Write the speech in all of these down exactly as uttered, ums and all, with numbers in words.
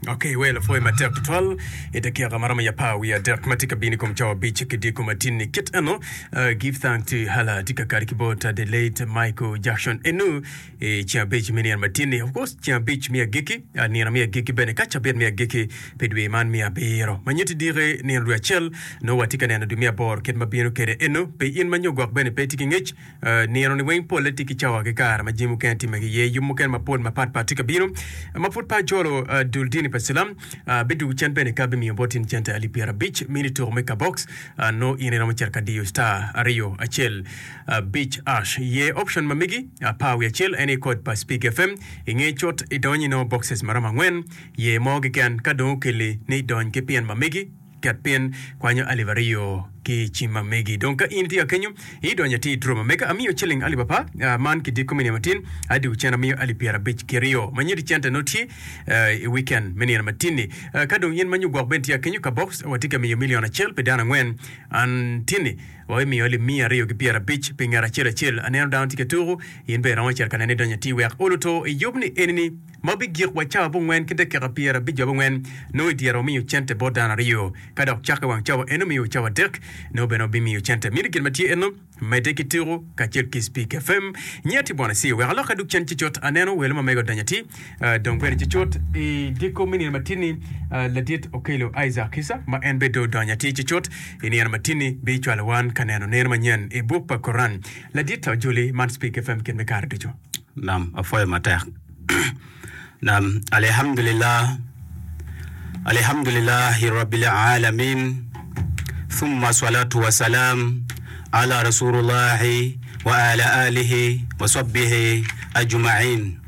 Ok, wel apwoyo matek tutwal i dakika ma romo i apar wiye adek ma tye ka bino i kom cawa abic ki dyeko matin-ni. Kit eno, uh, give thanks to Allah tye ka kati ki bot uh, the late Michael Jackson enu i ceng abic me nino matin-ni. Of course, ceng abic me agikki, uh, nino me agikki bene ka cabit me agikki pi dwe man me abiro. Ma nyutti diki nino dwe acel, nongo watye ka neno dwe me aboro kit ma bino kwede enu. Pi in ma nyo gwok bene pe itye ki ngec, Nino-ni weng polle tye ki cawa ki kare ma jami mukene timme ki iye. Yub mukene mapol mapat pat tye ka bino. Ma pud pe ajolo dul dini pa Cilam, bidwogo cen bene ka bimiyo bot in cente alip pyerabic mini tuko me kabox. Nongo in iromo cito ka diyo star aryo acel abic ash. Ye option ma megi apar wiye acel en aye kod pa Speak FM. Inge cut idonyo inongo boxes maromo angwen. Ye mo keken ka dong okeli ni idony ki pin ma megi. Ket pin kwanyo alip aryo ki i cim ma megi. Dong ka in itye ka kenyo, idonyo atir i draw ma mega. Amiyo ciling alip apar, man ki diko me nino matin, adwogo cen amiyo alip pyerabic ki ryo. Ma nyuto cente nongo tye i weekend me nino matin-ni. Ka dong in ma nyo gwok bene tye ka kenyo, ka box watye ka miyo million acel pi dano angwen. An tin-ni wabimiyo alip miya aryo ki pyerabic pi ngat acel acel. Aneno dano tye ka tuku, in bene iromo cito ka nene idonyo atir wek olo to i yub ni eni-ni. Ma bigik wa cawa abongwen ki dakika pyerabic abongwen, nongo i dyere wamiyo cente bot dano aryo. Ka dok cakke wang cawa eno miyo cawa adek, nongo bene wabimiyo cente. Miti gin ma tye eno, medde ki tuku kacel ki Speak FM. Nyia tye bwana Siyo, wek alok adug cen cucut. Aneno welo ma mega odonyo atir, dong bene cucut i dyeko me nino matin-ni, ladit Okello Isaac Kisa, ma en bene dong odonyo atir cucut i nino matin-ni, bicwalo wan ka neno neno manyen i buk pa Koran. Ladit Ojoli, man Speak FM kit me kare ducu. Nam, apwoyo matek. Nam, Alhamdulillah, Alhamdulillahi Rabbil Alamin, thumma salatu wa salam ala Rasulullahi wa ala alihi wa sahbihi ajma'in.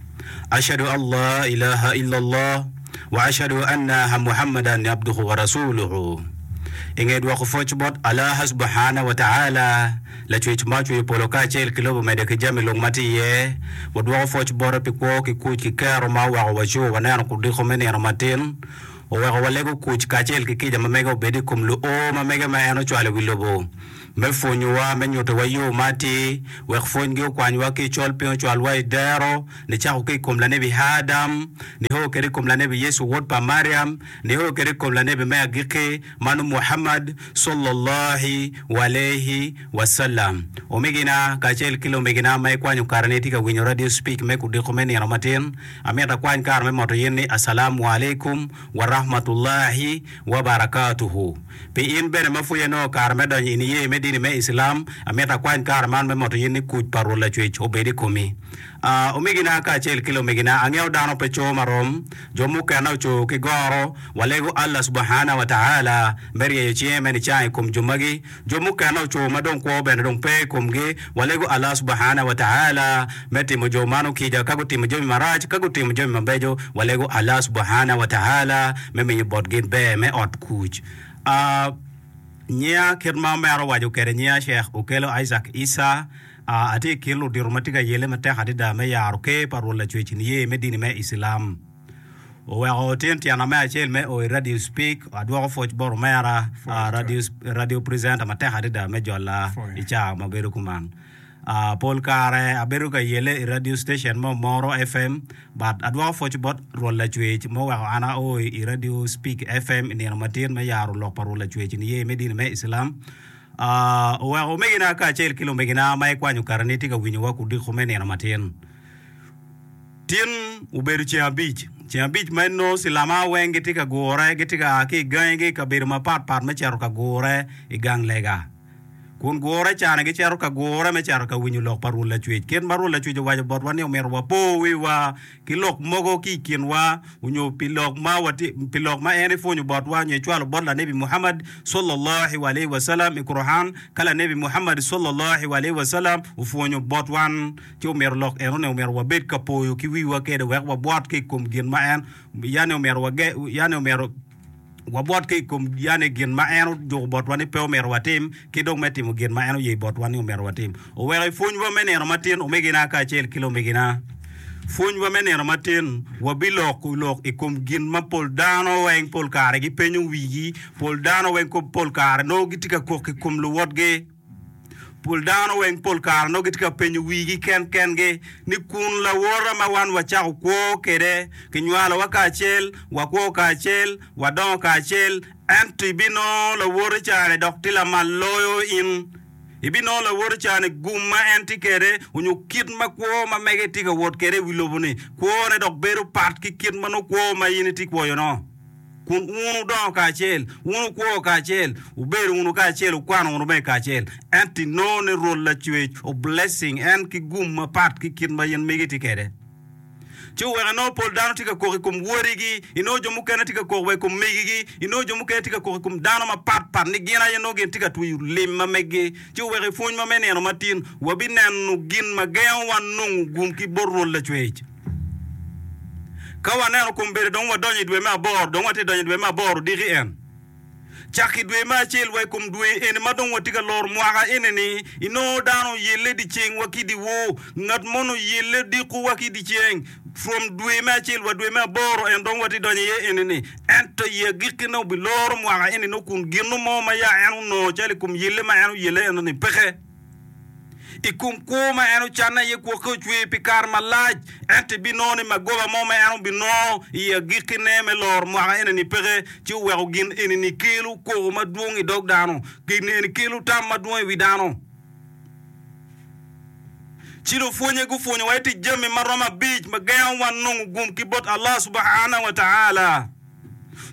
Ashhadu an la ilaha illallah wa ashhadu anna Muhammadan abduhu wa rasuluhu. I nge dwoko pwoc bot Allah Subhana wa Ta'ala, Lacwec ma ocweyo polo kacel ki lobo medo ki jami lung ma tye iye, wadwoko pwoc bote pi kwo ki kuc ki kero ma oweko waco waneno kudiko me nino matin, oweko walego kuc kacel ki kica ma mege obed i kom luo ma mege ma en ocwalo i wi lobo me pwonyowa, me nyutowa yo ma atir, wek pwonygi okwanywa ki i col piny ocwalwa i dero, nicako ki i kom lanebi Adam, nio kwede i kom lanebi Yecu wod pa Mariam, nio kwede i kom lanebi me agikki, Mano Muhammad, Sallallahi Walaihi Wasallam. Omegina kacel ki lumegina ma ikwanyo kare ni itye ka winyo Radio Speak me kudiko me nino matin, amito akwany kare me moto yin ni Assalamu Alaikum Warahmatullahi Wabarakatuhu. Pi in bene ma pud inongo kare me donyo i niye me dini me Islam, amito akwany kare man me moto yin ni kuc pa Rwot Lacwec obed i komi. A Omegina kacel ki lumegina, angeyo dano pe co marom, jo mukene oco ki goro, Walego Allah Subahana wa Ta'ala me ryeyo cinge me nicango i kom jo magi. Jo mukene oco ma dong kwo bene dong pe i komgi. Walego Allah Subahana wa Ta'ala me timo jo mano kica ka gutimo jami marac, ka gutimo jami mabeco. Walego Allah Subahana wa Ta'ala me miyo botgi ber me ot kuc. A Nyinga kit ma omera owaco kwede nyinga Sheikh Okello Isaac Issa. A Atye i kin ludito ma tye ka yelle matek adada me yaro ker pa Rwot Lacwec niye me dini me Islam. Oweko otin tyena me acel me o i Radio Speak, adwoko pwoc bot omera, radio, radio presenter matek adada me jola i caa ma bedo kuman. Uh, pol kare abedo ka yele i radio station me Omoro FM, but adwoko pwoc bot Rwot Lacwec ma oweko an ao i Radio Speak FM i nino matin me yaro lok pa Rwot Lacwec niye me dini me Islam. Uh, oweko omegina kacel ki lumegina ma ikwanyo kareni tye ka winyowa kudiko me nino matin. Tin obedo ceng abic, ceng abic ma inongo cilama weng gitye ka gure, gitye ka a ki i gangigi i kabedo mapat pat me cito ka gure i gang lega. Kun gure cani gicito ka gure me cito ka winyo lok pa Rwot Lacwec. Kit ma Rwot Lacwec owaco botwa ni omyero wapo wiwa ki lok mogo ki i kinwa onyo pi lok ma watye, pi lok ma en epwonyo botwa nyo ecwalo bot lanebi Muhammad, Sallallahu alaihi wasallam, i Quran, ka lanebi Muhammad, Sallallahu alaihi wasallam, opwonyo botwan. Ci omyero lok enoni omyero wabed ka poyo ki wiwa kede wek wabwot ki i kom gin ma en yani omyero wage yani omyero wabwot ki i kom yani gin ma en ojuko botwa ni pe omyero watim ki dong me timo gin ma en oye botwa ni omyero watim. Oweko i pwonywa me nino matin omegina kacel ki lumegina, pwonywa me nino matin wabiloko lok i kom gin ma pol dano weng pol kare gipenyo wigi, pol dano weng pol kare nongo gitye ka kok i kom luwotgi. Pol dano weng pol kare nongo gitye ka penyo wigi ken kengi ni kun lawota ma wan wacako kwo kwede, kinywalowa kacel, wakwo kacel, wadongo kacel, ento ibinongo lawoti ca-ni dok tye lamal loyo in. Ibinongo lawoti ca-ni gum ma en tye kwede onyo kit ma kwo ma mege tye ka wot kwede i wi lobo-ni, kwone dok bedo pat ki kit ma nongo kwo ma in itye kwoyo-no. Kun wun wudongo kacel, wun wukwo kacel, wubedo wunu kacel, wukwano wunu bene kacel. Ento inongo ni Rwot Lacwec o blessing en ki gum mapat ki kit ma in megi tye kwede. Ci oweko inongo pol dano tye ka kok i kom wadigi, inongo jo mukene tye ka kok wa i kom megigi, inongo jo mukene tye ka kok i kom dano mapat pat ni gin aye nongo gin tye ka tweyo lim ma meggi. Ci oweko i pwony ma me nino matin, wabineno gin ma gengo wan nongo gum ki bot Rwot Lacwec. Ka waneno kombeddi dong wadonyo i dwe me aboro, dong watye donyo i dwe me aboro odiki en. Cak i dwe me acel wa i kom dwe eni ma dong watye ka loro mwaka eni-ni, inongo dano oyelle dyeceng wa ki dyewor, ngat mono oyelle odiko wa ki dyeceng. From dwe me acel wa dwe me aboro en dong watye donyo iye eni-ni. Ento i agikkine obiloro mwaka eni nongo kun gino mo ma ya en onongo calo i kom yelle ma en oyelle eno-ni peke. I kom kwo ma en ocanne aye gwokke ocwer pi kare malac, ento ibinongo ni magoba mo ma en obinongo i agikkine me loro mwaka eni-ni peke, ci oweko gin eni-ni kelo koko madwong i dog dano, gin eni kelo tam madwong i wi dano. Ci lupwonye gupwonyowa i tic jami ma romo abic ma gengo wan nongo gum ki bot Allah subahana wa ta'ala.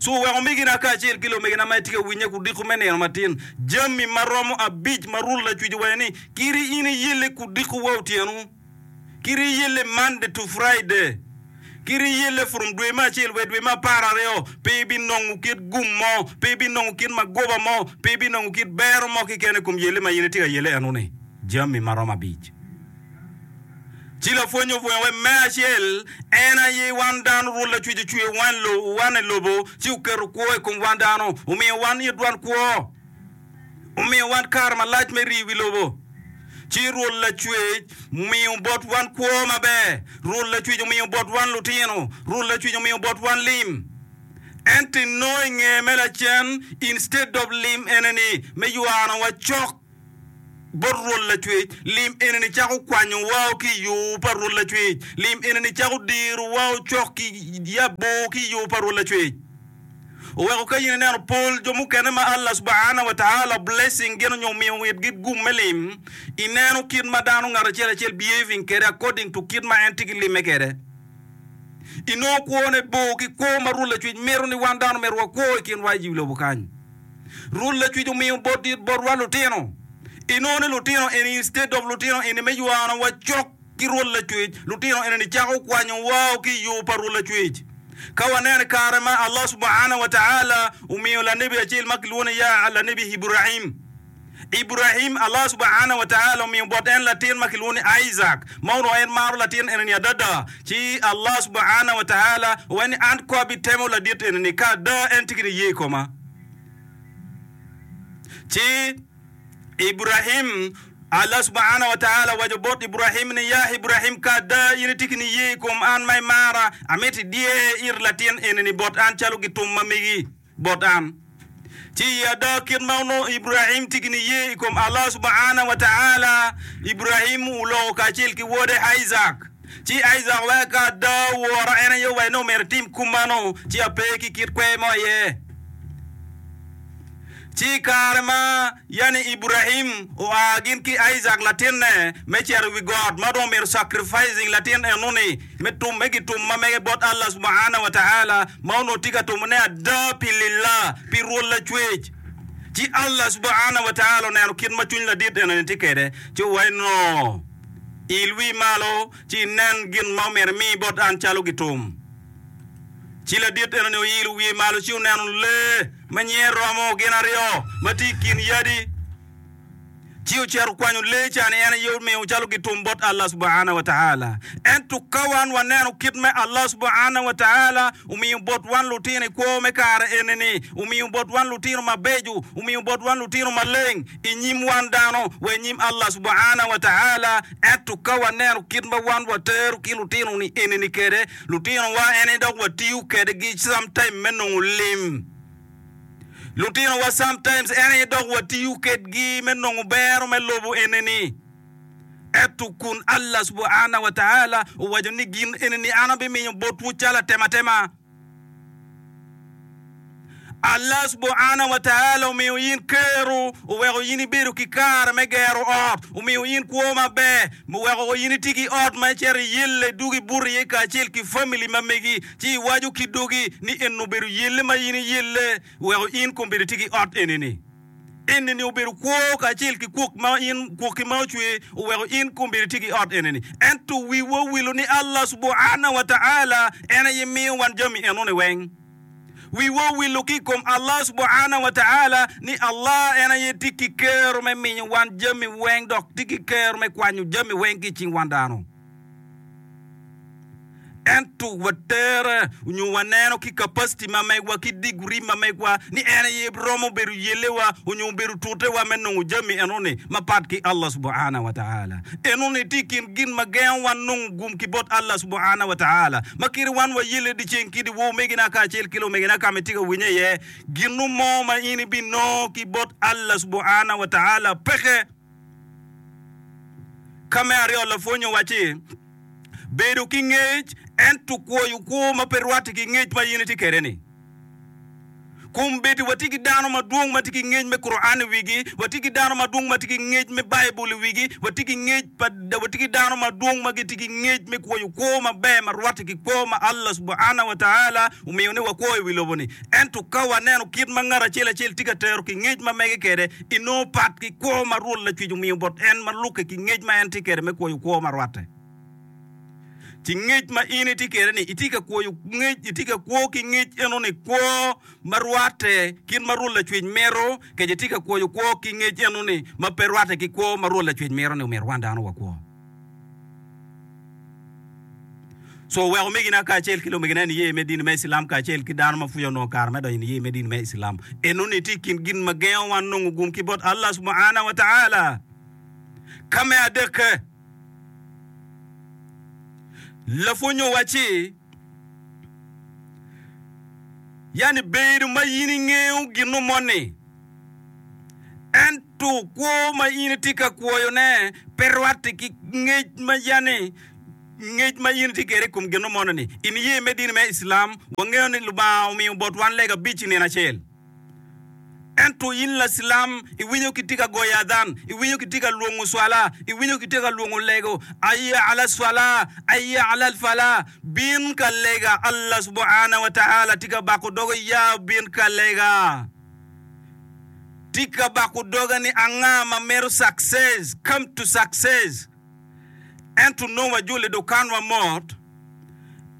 Co oweko omegina kacel ki lumegina ma itye ka winye kudiko me nino matin jami ma romo abic ma Rwot Lacwec owaco ni, Kiri in iyelle kudiko wa otyeno, kiri iyelle Monday to Friday, kiri iyelle from dwe me acel wa i dwe me apar aryo, pe ibinongo kit gum mo, pe ibinongo kit magoba mo, pe ibinongo kit bero mo keken i kom yelle ma in itye ka yelle eno-ni. Jami ma romo abic. Ci lapwony opwonyo wek me acel, en aye wan dano Rwot Lacwec ocweyo wan i lobo ci oketo kwo i kom wan dano, omiyo wan itwan kwo, omiyo wan kare malac me rii i wi lobo. Ci Rwot Lacwec omiyo bot wan kwo maber, Rwot Lacwec omiyo bot wan lutino, Rwot Lacwec omiyo bot wan lim. Ento inongo i nge me lacen, instead of lim eneni me ywanowa cok, bot Rwot Lacwec, lim eni-ni cako kwanyo wao ki i yo pa Rwot Lacwec, lim eni-ni cako diro wao cok ki yabo ki i yo pa Rwot Lacwec. Oweko ka in ineno pol jo mukene ma Allah Subahana wa Ta'ala blessing gin onyo omiyo itgi gum me lim, ineno kit ma dano ngat acel acel behaving kede according to kit ma en tye ki limme kede. Inongo kwone bor ki kwo ma Rwot Lacwec mito ni wan dano myero wakwo i kinwa i lobo kany. Rwot Lacwec omiyo botwa lutino. Inongo ni lutino eni instead of lutino eni me ywano wa cok ki Rwot Lacwec, lutino eni ni cako kwanyo wao ki i yo pa Rwot Lacwec. Ka waneno i kare ma Allah Subhana wa Ta'ala omiyo lanebi acel ma kilwongo ni ya lanebi Ibrahim, Ibrahim Allah Subhana wa Ta'ala omiyo bot en latin ma kilwongo ni Isaac ma onongo en maro latin eni ni adada. Ci Allah Subhana wa Ta'ala owaco ni an ko abitemo ladit eni ni ka ada en tye ki niye i koma. Ci Ibrahim, Allah Subhana wa Ta'ala owaco bot Ibrahim ni, Ya Ibrahim, ka ada in itye ki niye i kom an ma imara, amito idyer it latin eni ni bot an calo gitum ma megi bot an. Ci i ada kit ma onongo Ibrahim tye ki niye i kom Allah Subhana wa Ta'ala, Ibrahim oloko kacel ki wode Isaac. Ci Isaac owaco ka ada wora en aye owaco ni omyero etim kumano, ci ape ki kit kwer mo iye. Ci i kare ma yani Ibrahim oa gin ki Isaac latinne me cito i wi got ma dong omyero sacrificing latin enoni me tumme gitum ma mege bot Allah Subhana wa Ta'ala ma onongo tye ka tumone ada pi lillah, pi Rwot Lacwec. Ci Allah Subhana wa Ta'ala oneno kit ma cwiny ladit enoni tye kwede ci owaco ni, Il wii malo ci inen gin ma omyero imi bot an calo gitum. Ci ladit enoni oilo wiye malo ci oneno lee ma nyinge romo gin aryo ma tye i kin yadi. Ci ocito okwanyo lee ca-ni en aye omiyo calo gitum bot Allah Subhana wa Ta'ala. Ento ka wan waneno kit me Allah Subhana wa Ta'ala omiyo bot wan lutino i kwo me kare eni-ni, omiyo bot wan lutino mabeco, omiyo bot wan lutino maleng i nyim wan dano wa i nyim Allah Subhana wa Ta'ala, ento ka waneno kit ma wan watero ki lutino-ni eni-ni kwede, Lutinowa ene dok watiyo kedgi sometime me nongo lim. Lutinowa sometimes en aye dok watiyo kedgi me nongo bero me lobo eneni. Ento kun Allah subhanahu wa ta'ala owaco ni gin eneni an abimiyo botwu calo atematema. Allah subhanahu wa ta'ala omiyo in kero, oweko in ibedo ki kare me gero ot, omiyo in kwo maber, oweko in itye ki ot ma icito iyelle idwogo ibuto iye kacel ki family ma megi, ci iwaco ki dogi ni eni obedo yelle ma in iyelle, oweko in kombeddi itye ki ot enini. Enini obedo kwo kacel ki kwok ma in kwokki ma ocwe, oweko in kombeddi itye ki ot enini. Ento wiwa owilo ni Allah subhanahu wa ta'ala en aye miyo wan jami enoni weng. Wiwa owilo ki i kom Allah subhanahu wa ta'ala ni Allah en aye tye ki kero me miyo wan jami weng dok tye ki kero me kwanyo jami weng ki i cing wan dano. Ento watere onyo waneno ki capacity ma megwa ki degree ma megwa ni en aye romo bedo yellewa onyo bedo tutewa me nongo jami enoni mapat ki Allah subhanahu wa ta'ala. Enoni tye i kin gin ma gengo wan nongo gum ki bot Allah subhanahu wa ta'ala. Ma kadi wan wayelle dyeceng ki dyewor omegina kacel ki lumegina ka ma itye ka winye iye, ginu mo ma in ibinongo ki bot Allah subhanahu wa ta'ala peke. Ka me aryo lapwony owacci, Bedo ki ngec ento kwoyo kwo ma pe rwatte ki ngec ma in itye kwede-ni. Kombeddi watye ki dano madwong ma tye ki ngec me Quran i wigi, watye ki dano madwong ma tye ki ngec me Baibul i wigi, watye ki ngec pa, watye ki dano madwong ma gitye ki ngec me kwoyo kwo maber ma rwatte ki kwo ma Allah subhanahu wa ta'ala omiyo ni wakwo i wi lobo-ni. Ento ka waneno kit ma ngat acel acel tye ka tero ki ngec ma mege kwede, inongo pat ki kwo ma Rwot Lacwec omiyo bot en ma lukke ki ngec ma en tye kwede me kwoyo kwo ma rwatte. Ci ngec ma in itye kwede-ni, itye ka kwoyo ngec, itye ka kwo ki ngec eno-ni kwo ma rwatte kit ma Rwot Lacwec mito, kece itye ka kwoyo kwo ki ngec eno-ni ma pe rwatte ki kwo ma Rwot Lacwec mito ni omyero wan dano wakwo. Co oweko omegina kacel ki lumegina i niye me dini me Icilam kacel ki dano ma pud onongo kare me donyo i niye me dini me Icilam. Enoni tye i kin gin ma gengo wan nongo gum ki bot Allah subhanahu wa ta'ala. Ka me adekke, Lapwony owacci, Yani bedo ma in ingeyo gin moni, ento kwo ma in itye ka kwoyone pe rwatte ki ngec ma yani ngec ma in itye kwede i kom gin moni-ni. I niye me dini me Icilam, wangeyo ni Lubanga omiyo bot wan lega abic i nino acel. Ento in Lacilam, iwinyo kitye ka goyo adhan, iwinyo kitye ka lwongo cwala, iwinyo kitye ka lwongo lego, Hayya ala cwala, hayya ala fala, bin ka lega, Allah subhana wa ta'ala tye ka bako doge, ya bin ka lega. Tye ka bako doge ni anga ma mito success, come to success. Ento nongo wajolo i dukanwa mot,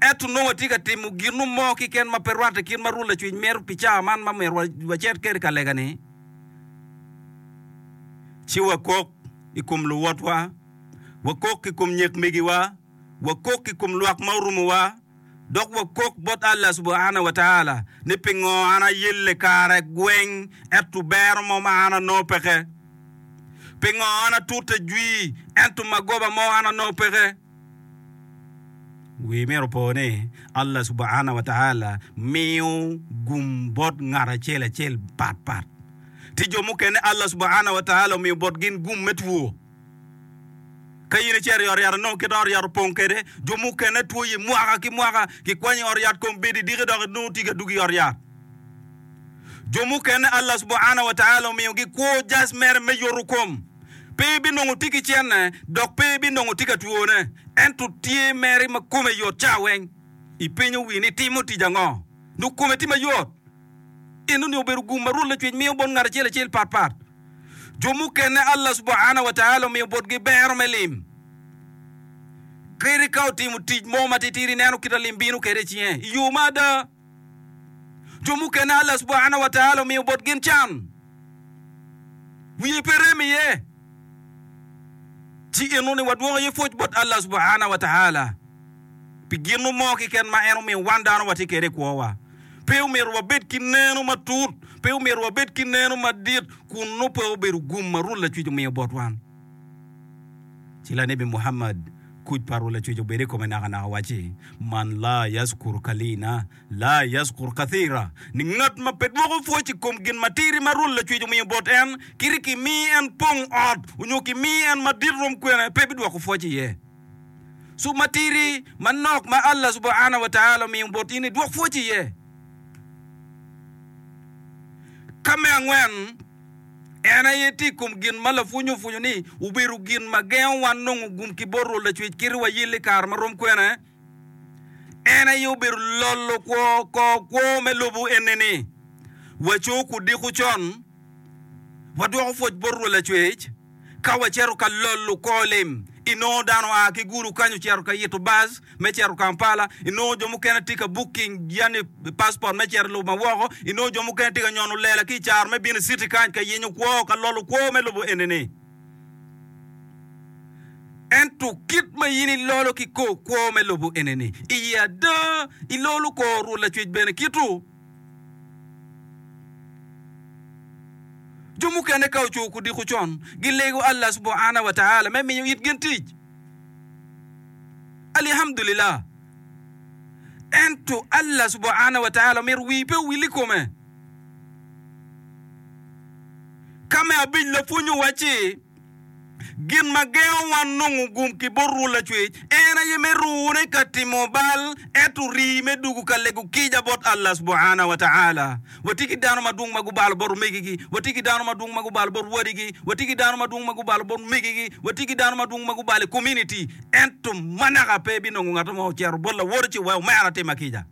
ento nongo watye ka timo gin mo keken ma pe rwatte kit ma Rwot Lacwec mito pi cawa man ma myero wacit kwede ka lega-ni, ci wakok i kom luwotwa, wakok i kom nyek megiwa, wakok i kom lwak ma orumowa, dok wakok bot Allah subhana wa ta'ala ni pingo an ayelle kare gweng ento bero mo ma an anongo peke? Pingo an atute jwi ento magoba mo an anongo peke? Wi myero opo ni Allah subhana wa ta'ala miyo gum bot ngat acel acel pat pat. Tye jo mukene Allah subhana wa ta'ala omiyo bot gin gum me two. Ka in icito i ot yat inongo kit ot yat opong kwede, jo mukene twoye mwaka ki mwaka, kikwanyo i ot yat kom bedo idiki dok inongo tye ka dwogo i ot yat. Jo mukene Allah subhana wa ta'ala omiyogi kwo jac mere me yoto kom. Pe ibinongo tye ki cene dok pe ibinongo tye ka twone, ento tye mere ma kome yot ca weng. Ipenyo wi ni timo tic ango? Nongo kome tye mayot. Enoni obedo gum ma Rwot Lacwec miyo bot ngat acel acel pat pat. Jo mukene Allah subhana wa ta'ala omiyo botgi bero me lim. Kadi ka otimo tic mo matitidi ineno kit a lim bino kwede i cinge i yo ma ada. Jo mukene Allah subhana wa ta'ala omiyo bot gin can. Wiye pe rem iye. Ci enoni wadwoko iye pwoc bot Allah subhana wa ta'ala pi gin mo keken ma en omiyo wan dano watye kwede i kwowa. Pe omyero wabed ki neno matut, pe omyero wabed ki neno madit kun nongo pe obedo gum ma Rwot Lacwec omiyo bot wan. Ci lanebi Muhammad, kuc pa Rwot Lacwec obed i kome nakanaka wacci, Man la yaskur kalina, la yaskur kathira, ni ngat ma pe dwoko pwoc i kom gin matidi ma Rwot Lacwec omiyo bot en, kadi kimi en pong ot onyo kimi en madit rom kwene, pe bidwoko pwoc iye. Cu matidi manok ma Allah subhana wa ta'ala omiyo bot in-ni, dwok pwoc iye. Ka me angwen, en aye tye i kom gin ma lapwony opwonyo ni obedo gin ma gengo wan nongo gum ki bot Rwot Lacwec kit wayelle i kare ma rom kwene. En aye obedo lolo kwo kor kwo me lobo eni-ni. Waco kudiko con, wadwoko pwoc bot Rwot Lacwec ka wacito ka lolo kor lim. Inongo dano oa ki Gulu kany ocito ka yito bac me cito Kampala, inongo jo mukene tye ka booking yani passport me cito i lobo ma woko, inongo jo mukene tye ka nyono lela ki i caro me bino i city kany ka yenyo kwo, ka lolo kwo me lobo eni-ni. Ento kit ma in ilolo ki kor kwo me lobo eni-ni, iye ada ilolo kor Rwot Lacwec bene kitu. Jo mukene ka oco kudiko con, gilego Allah subhana wa ta'ala me miyo it gin tic. Alihamdulillah. Ento Allah subhana wa ta'ala omito wii pe owil i kome. Ka me abic lapwony owacci, Gin ma gengo wan nongo gum ki bot Rwot Lacwec en aye me rune ka timo bal ento rii me dugo ka lego kica bot Allah subhana wa ta'ala. Watye ki dano madwong ma gubalo bot omegigi, watye ki dano madwong ma gubalo bot wadigi, watye ki dano madwong ma gubalo bot megigi, watye ki dano madwong ma gubalo i kominiti, ento ma naka pe ibinongo ngat mo ocito bot lawote ci wek omera tima kica.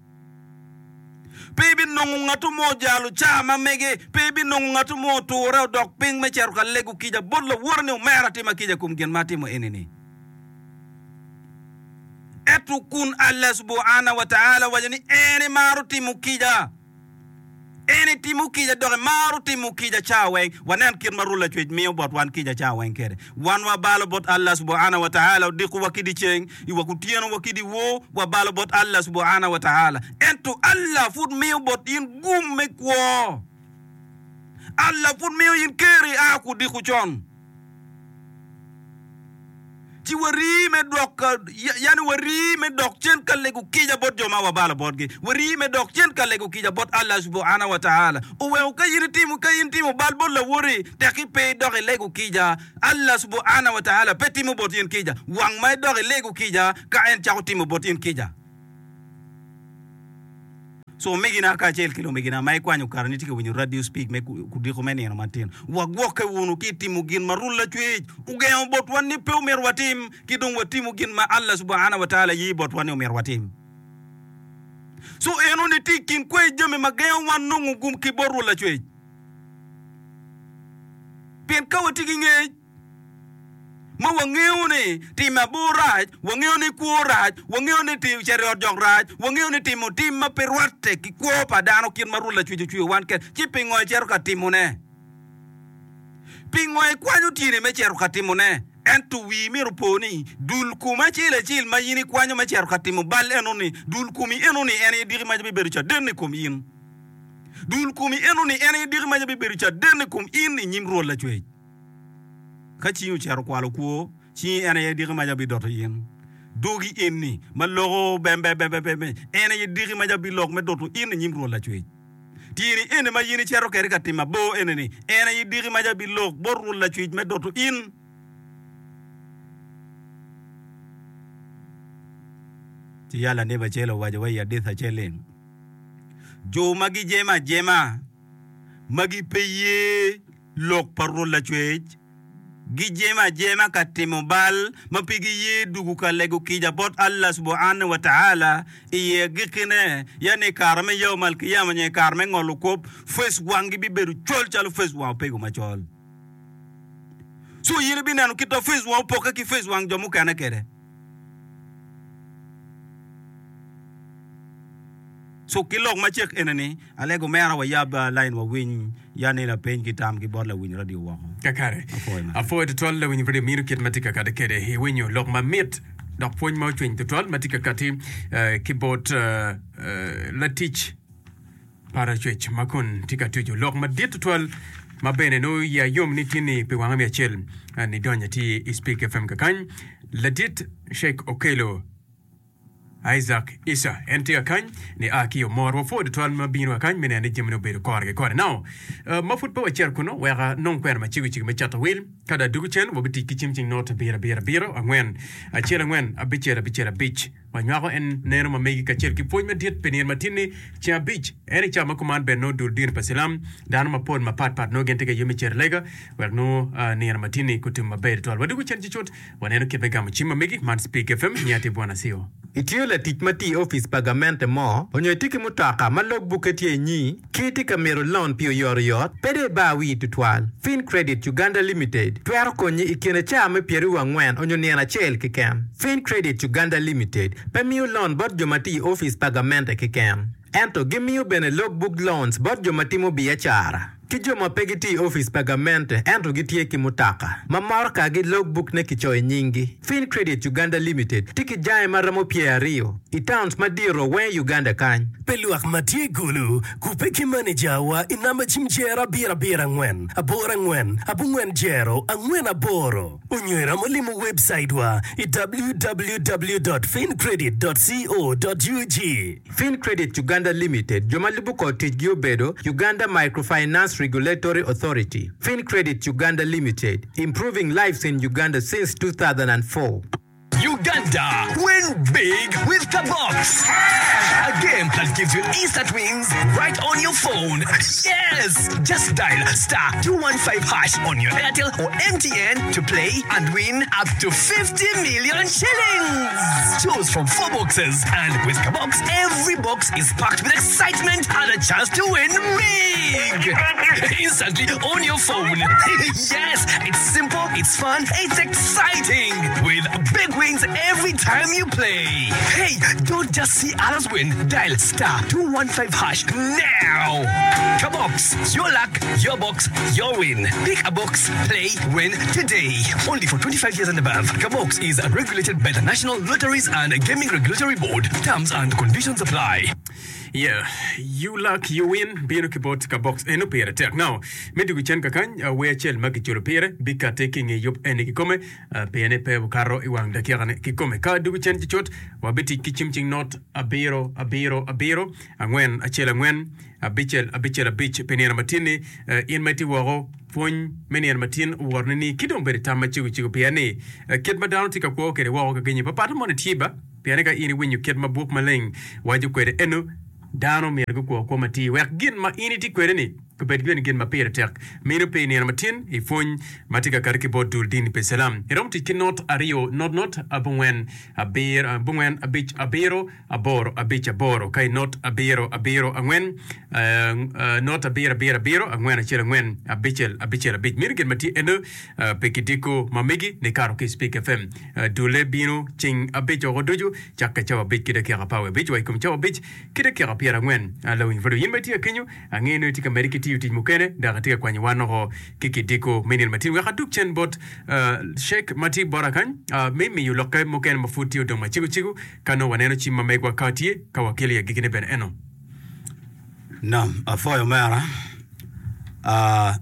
Pe ibinongo ngat mo ojalo caa ma mege, pe ibinongo ngat mo oture odok piny me cito ka lego kica bot lawote ni omera tima kica i kom gin ma atimo eni-ni. Ento kun Allah subhana wa ta'ala owaco ni en emaro timo kica. En etimo kica dok emaro timo kica ca weng. Wanen kit ma Rwot Lacwec miyo bot wan kica ca weng kwede. Wan wabalo bot Allah subhana wa ta'ala odiko wa ki dyeceng, i wa kutyeno wa ki dyewor, wabalo bot Allah subhana wa ta'ala. Ento Allah pud miyo bot in gum me kwo. Allah pud miyo in ker ia kudiko con. Ci warii me dok, yani warii me dok cen ka lego kica bot jo ma wabalo botgi. Warii me dok cen ka lego kica bot Allah subhana wa ta'ala. Oweko ka in itimo, ka in itimo bal bot lawoti, tekki pe idok ilego kica, Allah subhana wa ta'ala pe timo bot in kica. Wang ma idok ilego kica, ka en cako timo bot in kica. So omegina kacel ki lumegina ma ikwanyo kare ni tye ka winyo radio speak me kudiko me nino matin, wagwokke wunu ki i timo gin ma Rwot Lacwec ogengo botwa ni pe omyero watim, ki dong watimo gin ma Allah subhana wa ta'ala ye botwa ni omyero watim. So enoni tye i kin kwer jami ma gengo wan nongo gum ki bot Rwot Lacwec. Pien ka watye ki ngec, ma wangeyo ni timo abor rac, wangeyo ni kwo rac, wangeyo ni cito i ot jok rac, wangeyo ni timo tim ma pe rwatte ki kwo pa dano kit ma Rwot Lacwec ocweyo wan kwede, ci pingo icito ka timone? Pingo ikwanyo tyeni me cito ka timone? Ento wii myero opo ni, dul kom acel acel ma in ikwanyo me cito ka timo bal enoni, dul komi enoni en aye diki maca bibedo caden i kom in. Dul komi enoni en aye diki maca bibedo caden i kom in i nyim Rwot Lacwec. Ka cingi ocito kwalo kwo, cingi en aye diki maca bidoto in. Dogi eni ma loko bembebebebe, en aye diki maca bilok me doto in i nyim Rwot Lacwec. Tyeni eni ma in icito kwede ka timo abor eni-ni, en aye diki maca bilok bot Rwot Lacwec me doto in. Ci ya lanebi acel owaco wa i adith acel ni, Jo ma gijemo ajema, ma gipe ye lok pa Rwot Lacwec, gijemo ajema ka timo bal ma pe giye dugu ka lego kica bot Allah subhanahu wa ta'ala i agikkine, yani i kare me Yawm al-Qiyamah nyo i kare me ngolo kop, face wanggi bibedo col calo face wang opego macol. So in ibineno kit ma face wang opokke ki face wang jo mukene kwede. So ki lok macek ene ni, alego omera wayab line wawiny ya ni lapeny ki tam ki bot lawiny radio woko. Kakare. Apwoyo matek. Apwoyo tutwal lawiny radio mino kit ma tye ka kati kede. Iwinyo lok mamit dok pwony ma ocwiny tutwal ma tye ka kati eh, ki bot eh, eh, latic Paracwec ma kun tye ka tuco lok madit tutwal ma bene nongo iya yom ni tin-ni pi wanga me acel nidonyo atir i Speak FM kakany. Ladit Sheikh Okello Isaac Issa en tye kakany ni a ki omor wapwoyo tutwal ma bino kakany me neno ni jamine obedo kore ki kore. Now, uh, ma pud pe wacito kunu wek anong kwena macego cego me cato wil ka dong adwogo cen wabitic ki cim cing not abiro abiro abiro angwen acel angwen abicel abicel abic wanywako en neno ma megi kacel ki pwony madit pi nino matin-ni ceng abic en i cawa ma kuman bene nongo dul dini pa cilam dano mapol mapat pat nongo gin tye ka yub me cito i lega wek nongo uh, nino matin-ni gutim maber tutwal. Wadwogo cen cucut waneno kit me gamo cim ma megi man Speak F M nya tye Bwana Sio. Itiyo latic ma tye i opic pa gamente mo onyo itye ki mutoka ma logbukke tye inyi ki itye ka mito loan pi oyotoyot, pe dong ibar wii tutwal. FinCredit Uganda Limited twero konyi i kine caa me pyeraryo angwen onyo nino acel keken. FinCredit Uganda Limited pe miyo loan bot jo ma tye i opic pa gamente keken, ento gimiyo bene logbook loans bot jo ma timo biacara ki jo ma pe gitye i opic pa gamente ento gitye ki mutoka ma morokagi logbook ne kicoyo i nyinggi. FinCredit Uganda Limited tye ki jange ma romo pyeraryo i towns madito weng i Uganda kany. Pe lwak ma tye i Gulu, kubbe ki manejawa i namba cim jero abiro abiro angwen, aboro angwen, abongwen jero, angwen aboro. Onyo iromo limo webcait wa i W W W dot fincredit dot co dot U G. FinCredit Uganda Limited jo ma lubo kor ticgi obedo Uganda Microfinance Regulatory Authority. FinCredit Uganda Limited, improving lives in Uganda since two thousand four. Uganda, win big with Kabox. A game that gives you instant wins right on your phone. Yes! Just dial star two one five hash on your Airtel or M T N to play and win up to fifty million shillings. Choose from four boxes, and with Kabox, every box is packed with excitement and a chance to win big. Instantly on your phone. Yes, it's simple, it's fun, it's exciting. With big wins every time you play. Hey, don't just see others win. Dial star two one five hash now. Kabox, your luck, your box, your win. Pick a box, play, win today. Only for twenty-five years and above. Kabox is regulated by the National Lotteries and Gaming Regulatory Board. Terms and conditions apply. Yeah, you luck, you win bino ki bot Kabox eno pire tek. Now, me dugu cen kakany uh, wer acel ma kiculo pire bikate ki nge yub eni kikome uh, piene pe okato i wang dakikane kikome. Ka dugu cen cucut wabitic ki cim cing not abiro abiro abiro angwen acel angwen abicel abicel abic pi nino matin-ni uh, in ma itye woko pwony me nino matin owotoni ni ki dong bedo tam macego cego pien ni uh, kit ma dano tye ka kwo kwede woko ka genyi papat moni tye ba pien ka in iwinyo kit ma buk maleng waco kwede eno dano myero gukwo kwo matir wek gin ma in itye kwede ni obed bene gin ma pire tek mino pe i nino matin i pwony ma tye ka kati ki bot dul dini pa Islam iromo tic ki not aryo not not abongwen abiro abongwen abic abiro aboro abic aboro ka i not abiro abiro angwen uh, uh, not abiro abiro abiro angwen acel angwen abicel abicel abic mino gin ma tye eno uh, pe kidiko ma megi ni kato ki Speak F M uh, dule bino ceng abic oko ducu cakke cawa abic ki dakika apar wiye abic wa i kom cawa abic ki dakika pyerangwen uh, lawiny pud in ma itye akenyo angeyo ni itye ka medde ki tiyo tic mukene dok atye ka kwanyo wan oko ki kidiko me nino matin wek adug cen bot uh, Sheikh ma tye bota kany uh, me miyo lokke mukene ma pud tye odong macego cego ka nongo waneno cim ma megwa ka tye ka wakelo i agikine bene eno. Nam, apwoyo mera. Uh,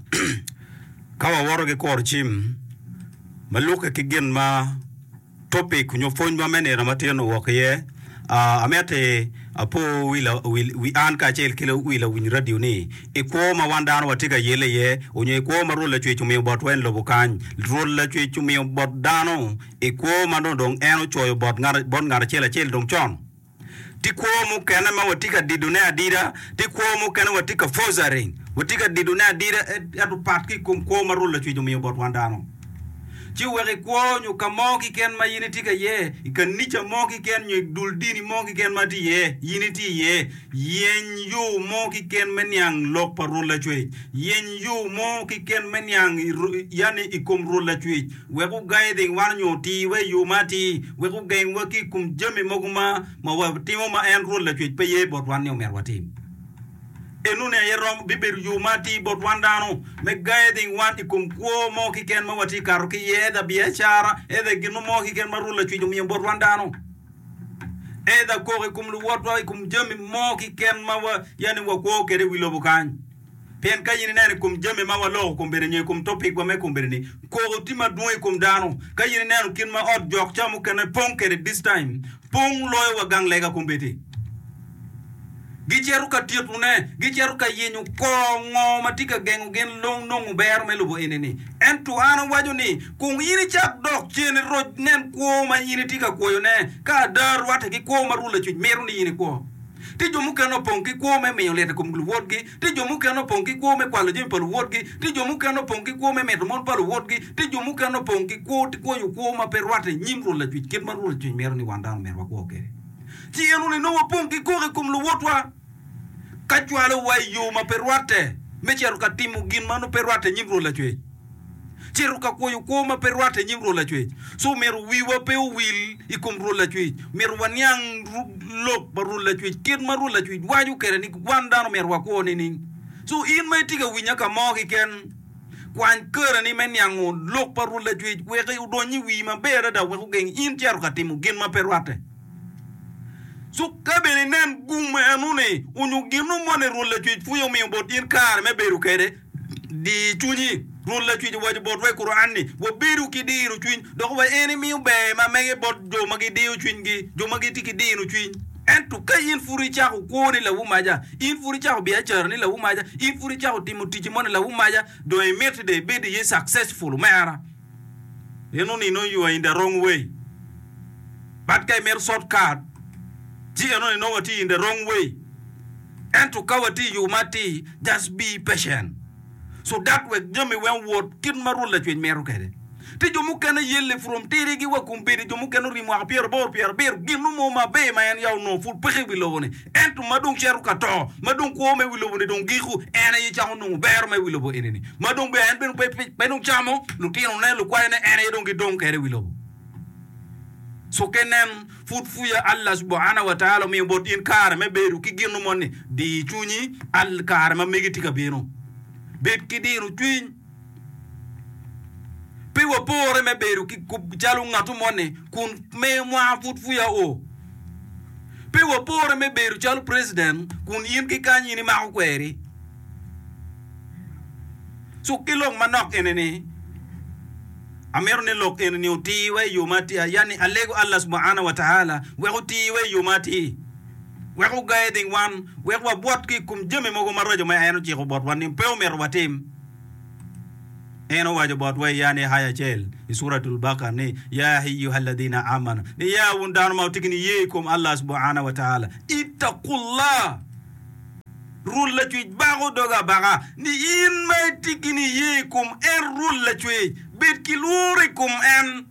ka wawoto ki kuro cim ma lukke ki gin ma topic nyo pwony ma me nino matin owok iye, uh, amiti apo wi, la, wi, wi an kacel ki wi lawiny radio ni i kwo ma wan dano watye ka yele iye onyo i kwo ma Rwot Lacwec omiyo botwa en lobo kany. Rwot Lacwec omiyo bot dano i kwo ma dong dong en ocoyo bot ngat bot ngat acel acel dong con. Tye kwo mukene ma watye ka didone adida, tye kwo mukene watye ka forcing, watye ka didone adida ento pat ki i kom kwo ma Rwot Lacwec omiyo bot wan dano. Ci wek i kwo nyo ka mo keken ma in itye ka iye, i kanica mo keken nyo i dul dini mo keken ma tye iye, in itye iye, yeny yo mo keken me niang lok pa Rwot Lacwec. Yeny yo mo keken me niang yani i kom Rwot Lacwec. Wek oguiding wan nyo otirwa i yo ma atir, wek ogengwa ki i kom jami mogo ma ma watimo ma en Rwot Lacwec pe ye bot wan ni omyero watim. Enoni aye rom bibedo yo ma atir bot wan dano me guiding wan i kom kwo mo keken ma watye kato ki iye, either biacara, either gin mo keken ma Rwot Lacwec omiyo bot wan dano. Either kok i kom luwotwa i kom jami mo keken ma wa, yani wakwo kwede i wi lobo kany. Pien ka in ineno i kom jami ma waloko kombeddi nyo i kom topikwa me kombeddi-ni, koko tye madwong i kom dano. Ka in ineno kit ma ot jok ca mukene pong kwede this time, pong loyo wa gang lega kombeddi. Gicito ka tyetone, gicito ka yenyo kor ngo ma tye ka gengo gin long nongo bero me lobo eni-ni. Ento an awaco ni, kong in icak dok cen iroc nen kwo ma in itye ka kwoyone, ka ada rwatte ki kwo ma Rwot Lacwec mito ni in ikwo. Tye jo mukene opong ki kwo me miyo lit i kom luwotgi, tye jo mukene opong ki kwo me kwalo jami pa luwotgi, tye jo mukene opong ki kwo me mito mon pa luwotgi, tye jo mukene opong ki kwo kwoyo kwo ma pe rwatte i nyim Rwot Lacwec kit ma Rwot Lacwec mito ni wan dano myero wakwo kwede. Ci enoni nongo wapong ki koko i kom luwotwa ka cwalowa i yo ma pe rwatte me cito ka timo gin ma nongo pe rwatte i nyim Rwot Lacwec. Cito ka kwoyo kwo ma pe rwatte i nyim Rwot Lacwec. Co myero wiwa pe owil i kom Rwot Lacwec. Myero waniang lok pa Rwot Lacwec, kit ma Rwot Lacwec waco kwede ni wan dano myero wakwo nining. Co in ma itye ka winya ka mo keken, kwany kareni me niango lok pa Rwot Lacwec wek odony i wii maber adada wek ogeng in cito ka timo gin ma pe rwatte. Co ka bene inen gum enoni onyo gino moni Rwot Lacwec pwonyo omiyo bot in kare me bedo kwede, Di cwinyi. Rwot Lacwec owaco botwa i Kuran ni, Wabedu ki diro cwiny, dok wa en imiyo ber ma mege bot jo ma gidiyo cwinygi, jo ma gitye ki diro cwiny. Ento ka in pud icako kwoni lawumaca, in pud icako biacarani lawumaca, in pud icako timo ticci moni lawumaca, dong imiti dong ibed iye successful omera. Enoni nongo you are in the wrong way. But ka imito short cut, ci enoni nongo watye in the wrong way. Ento ka watye i yo ma atir, just be patient so that wek jami weng owot kit ma Rwot Lacwec mito kwede. Tye jo mukene yelle from tirigi wa kombeddi, jo mukene orii mwaka pyeraboro pyerabiro, gin mo maber ma en ya onongo pud peke i wi lobo-ni, ento ma dong cito ka to, ma dong kwo me wi lobo-ni dong giko, en aye cako nongo bero me wi lobo eni-ni, ma dong bene en bene pe, pe dong camo, lutinone, lukwayone, en aye dong gidong kwede i wi lobo. So ke nen, pud pwuya Allah subhana wa ta'ala omiyo bot in kare me bedo ki gino moni, di cwinyi al kare ma megi tye ka bino. Bed ki diro cwiny. Pe wapore me bedo ki calo ngatu moni kun me mwaka pud pwuya o. Pe wapore me bedo calo president kun in ki kany in imako kweri. Cuk ki lok manok eni-ni, Amito ni lok eni-ni otirwa i yo ma atir, yani alego Allah subhana wa ta'ala wek otirwa i yo ma atir, wek oguiding wan, wek wabwot ki i kom jami mogo maraco ma en ociko botwa ni pe omyero watim. En owaco botwa i yani aya acel i Suratul Baqarah ni, Ya ayyuhalladhina amanu, ni ya wun dano ma wutye ki niye i kom Allah subhana wa ta'ala, ittaqullah, Rwot Lacwec bako doge abaka ni in ma itye ki niye i kom en Rwot Lacwec, bed ki lworo i kom en.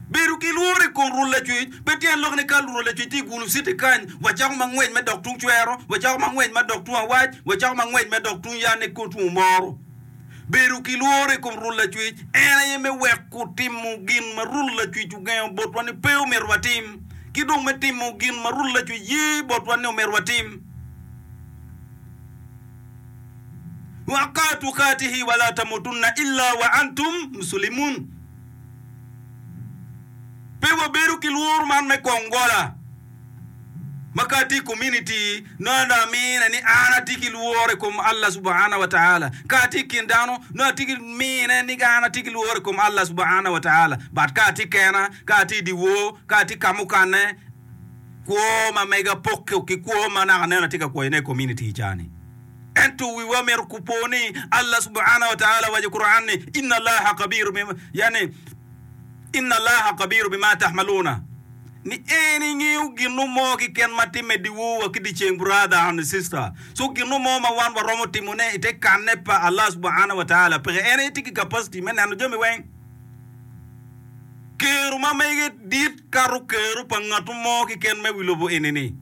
Bedo ki lworo i kom Rwot Lacwec pe tyen lok ni ka Rwot Lacwec tye i gulu citi kany, wacako ma ngwec me dok tung cwero, wacako ma ngwec ma dok tung awac, wacako ma ngwec me dok tung yanne ki tung omoro. Bedo ki lworo i kom Rwot Lacwec en aye me weko timo gin ma Rwot Lacwec ogengo botwa ni pe omyero watim, ki dong me timo gin ma Rwot Lacwec ye botwa ni omyero watim. Haqqa tuqatihi wala tamutunna illa wa antum muslimun. Pe wabedo ki lworo man me kong gola ma ka atye i community nongo dong amine ni an atye ki lworo i kom Allah subhana wa ta'ala. Ka atye i kin dano nongo atye ki mine ni an atye ki lworo i kom Allah subhana wa ta'ala. But ka atye kena, ka atye i dyewor, ka atye ka mukane, kwo ma mega pokke ki kwo ma naka neno atye ka kwoyone i community i ca-ni. Ento wiwa myero kupo ni Allah subhana wa ta'ala waco i Quran ni, Inna Allaha khabiru bima, yani, Inna Allaha khabiru bima tahmaluna, ni en ingeyo gino mo keken ma timme dyewor wa ki dyeceng brother and sister. So gino mo ma wan waromo timone i te kanne pa Allah subhana wa ta'ala peke. En aye tye ki capacity me neno jami weng. Kero ma mege dit kato kero pa ngat mo keken me wi lobo eni-ni.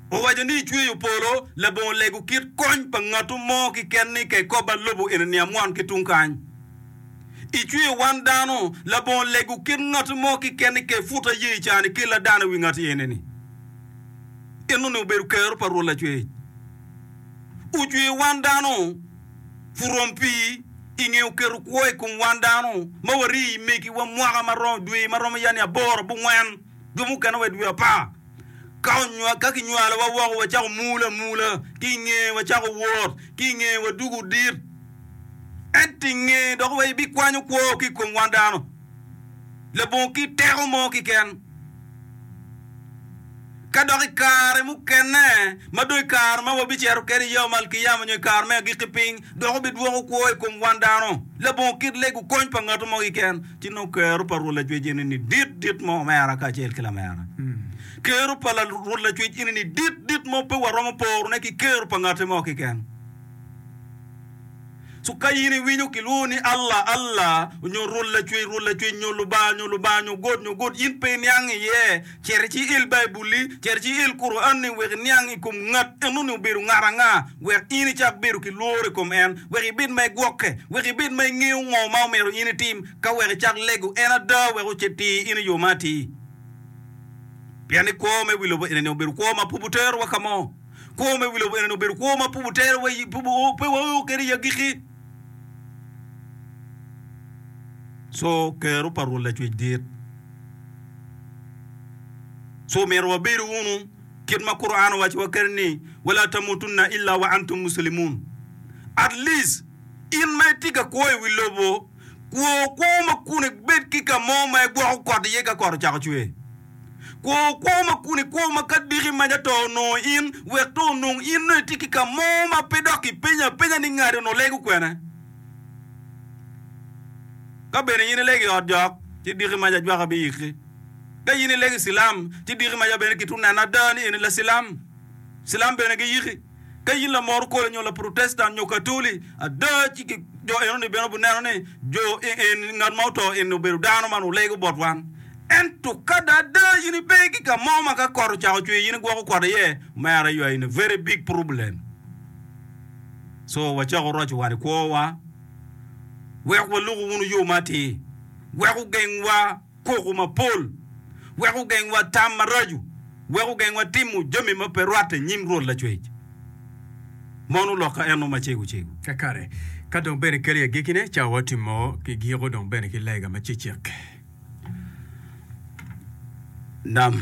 Owaco ni ecweyo polo labongo lego kit kony pa ngat mo keken ni ka ekoba lobo eni-ni amwon ki tung kany. Icweyo wan dano labongo lego kit ngat mo keken ni ka eputa ye i caa-ni kella dano i wi ngat eni-ni. Enoni obedo kero pa Rwot Lacwec. Ocweyo wan dano. Purom pii i nge oketo kwo i kom wan dano ma warii i megiwa mwaka ma romo dwe ma romo yani aboro abongwen, jo mukene wa i dwe apar. Ka onywa, ka kinywalowa woko wacako mul amula, ki i nge wacako wot, ki i nge wadugo dit. Ento i nge dok wa ibikwanyo kwo ki i kom wan dano labongo ki teko mo keken. Ka dok i kare mukene, ma dong i kare ma wabicito kwede i Yawm al-Qiyama nyo i kare me agikki piny, dok obidwoko kwo i kom wan dano labongo kit lego kony pa ngat mo keken, ci nongo kero pa Rwot Lacwec eni-ni dit dit mo omera kacel ki lamera. Kero pa Rwot Lacwec eni-ni dit dit mo pe waromo porone ki kero pa ngati mo keken. So ka in iwinyo kilwongo ni Allah, Allah, nyo Rwot Lacwec, Rwot Lacwec, nyo Lubanga, nyo Lubanga, nyo God, nyo God, in pe iniang iye. Cit ci il Baibulli, cit ci il Kuran-ni wek iniang i kom ngat enoni obedo ngat anga, wek in icak bedo ki lworo i kom en, wek ibed ma igwokke, wek ibed ma ingeyo ngo ma omyero in itim, ka wek icak lego en ada wek otir in i yo ma atir. Pien ni kwo me wi lobo eni obedo kwo ma pud oterowa ka mo. Kwo me wi lobo eni obedo kwo ma pud oterowa pe wao kwede i agikki. Co kero pa Rwot Lacwec dit. Co myero wabedu wunu kit ma Quran owacowa kwede ni, Wala tamutunna illa wa antum muslimun. At least in ma itye ka kwo i wi lobo, kwo kwo ma kun ibed ki ka mo ma igwoko kot iye ka kot ocako cwer. Kwo kwo ma kun ikwo ma ka diki maca to onongo in, wek to onong in nongo itye ki ka mo ma pe dok ipenyo apenya ni ngati onongo lego kwene. Ka bene in ilego i ot jok, ci diki maca ajwaka biyiki. Ka in ilego i cilam, ci diki maca bene kitwu neno ada ni eni lacilam. Cilam bene giyiki. Ka in lamoro kole nyo Laprotestant nyo Katoli, ada ci jo enoni bene obineno ni jo eni, ngat ma oto eni obedo dano ma onongo lego bot wan. Ento ka da ada in ipe ki ka mo ma ka kot ocako cwer in igwoko kot iye, omera you are in a very big problem. So wacako roco wan i kwowa wek waluku wunu yo ma atir, wek ogengwa koko mapol, wek ogengwa tam maraco, wek ogengwa timo jami ma pe rwatte i nyim Rwot Lacwec. Mono lokka eno macego cego. Kakare, ka dong bene kelo i agikkine, cawa watimo ki giko dong bene ki lega macecek. Nam,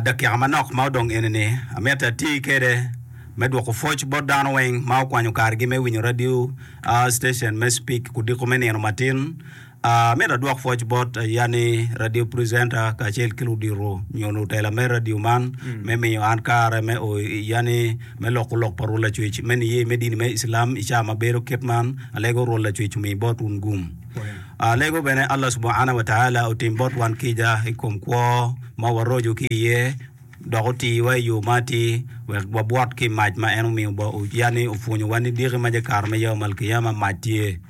Dakika manok ma odong eni-ni, amito ati kwede me dwoko pwoc bot dano weng ma okwanyo karegi me winyo radio station me Spik kudiko me nino matin. Amito adwok pwoc bot yani radio presenter kacel ki ludito nyo lutela me radio man me miyo an kare me o yani me loko lok pa Rwot Lacwec me niye me dini me Islam i ca ma bedo kit man. Alego Rwot Lacwec omi bot wun gum. Alego bene Allah Subhana wa Ta'ala otim bot wan kica i kom kwo ma waroco ki iye dok otiwa i yo ma atir wek wabwot ki i mac ma en omiyo yani opwonyowa ni diki ma kare me Yawm al-Qiyamah mac tye.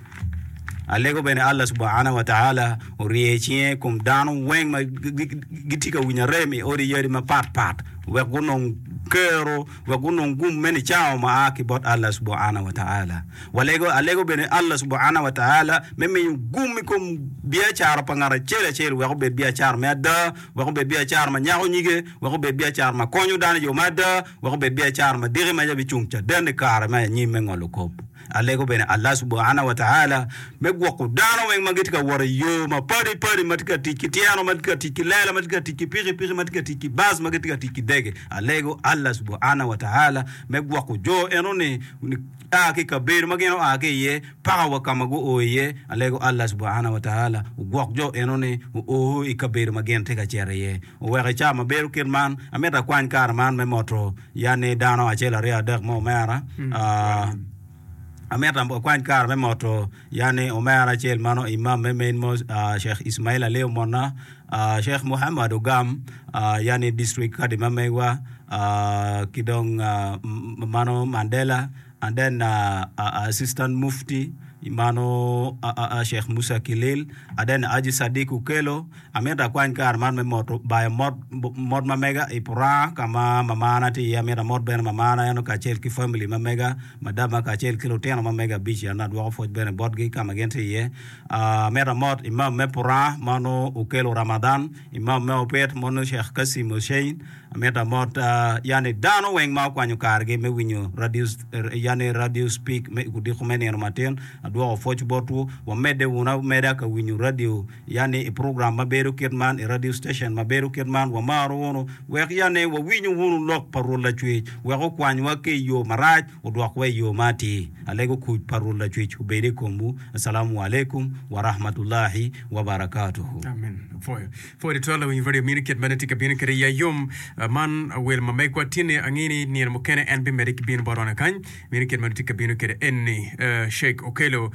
Alego bene Allah Subhana wa Ta'ala orye cinge i kom dano weng ma gitye ka winyo arem i odi yadi mapat pat wek gunong kero wek gunong gum me nicango ma a ki bot Allah Subhana wa Ta'ala. Walego, alego bene Allah Subhana wa Ta'ala me miyo gum i kom biacara pa ngat acel acel wek obed biacara me ada, wek obed biacara ma nyako nyige, wek obed biacara ma konyo dano i yo me ada, wek obed biacara ma diki maca bicung caden i kare me anyim me ngolo kop. Alego bene Allah Subhana wa Ta'ala me gwoko dano weng ma gitye ka wot i yo ma padi padi, ma tye ka tic ki tyeno, ma tye ka tic ki lela, ma tye ka tic ki pikipiki, ma tye ka tic ki bus, ma gitye ka tic ki dege. Alego Allah Subhana wa Ta'ala me gwoko jo enoni a ki i kabedo ma gin oa ki iye paka wa ka ma guo iye, alego Allah Subhana wa Ta'ala ogwok jo eno-ni oo i kabedo ma gin tye ka cito iye. Oweko i cawa ma bedo kit man, amito akwany kare man me moto yani dano acel aryo adek mo omera. Ah, amito akwany kare me moto yani omera acel mano Imam me Main Mosque, ah, Sheikh Ismail Ali Omonna, ah, Sheikh Muhammad Ogam, ah, yani district kadi ma megwa, ki dong mano Mandela and then assistant mufti mano Sheikh Musa Kilil and then Haji Sadiq Okello amito akwany kare man me moto bayo mot mot ma mega i Puranga ka ma mamana tye iye amito amot bene mamana eno kacel ki family ma mega madama kacel ki lutino ma mega abic eno adwoko pwoc bene botgi ka ma gin tye iye amito amot Imam me Puranga mano Okello Ramadhan Imam me Opit mano Sheikh Kassim Hussein Amito amot yani dano weng ma okwanyo kargi me winyo radio yani radio speak me odiko me nino matin. Adwoko pwoc botwu. Wamedde wunu ameda ka winyo radio, yani i program ma bedo kit man, i radio station ma bedo kit man. Wamaro wunu wek yani wawinyu wunu lok pa Rwot Lacwec, wek okwanywa ki i yo marac, odwokwa i yo ma atir. Alego kuc pa Rwot Lacwec obed i komwu. Assalamu alaikum wa rahmatullahi wa barakatuhu. Amen. Apwoyo. Pwod itwero lawiny radio mini kit ma tye ka bino kwede i ayom man wel ma megwa tye-ni ange ni nino mukene en bimedde ki bino bot wana kany mini kit ma tye ka bino kwede en-ni Sheikh Okello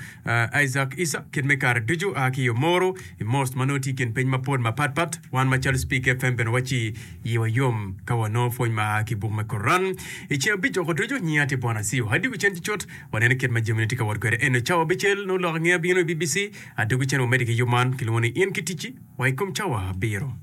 Isaac Issa kit me kare ducu a ki i Omoro i Most ma nongo tye i kin piny mapol mapat pat wan macalo Speak FM bene waci yiwa yom ka wanongo pwony ma a ki i buk me Koran i ceng abic oko ducu nyinga tye Bwana Siu Adwogi cen cucut waneno kit ma jamine tye ka wot kwede eno cawa abicel nongo lok angeya bino i BBC adwogi cen wamedde ki yub man kilwongo ni in ki ticci wa i kom cawa abiro.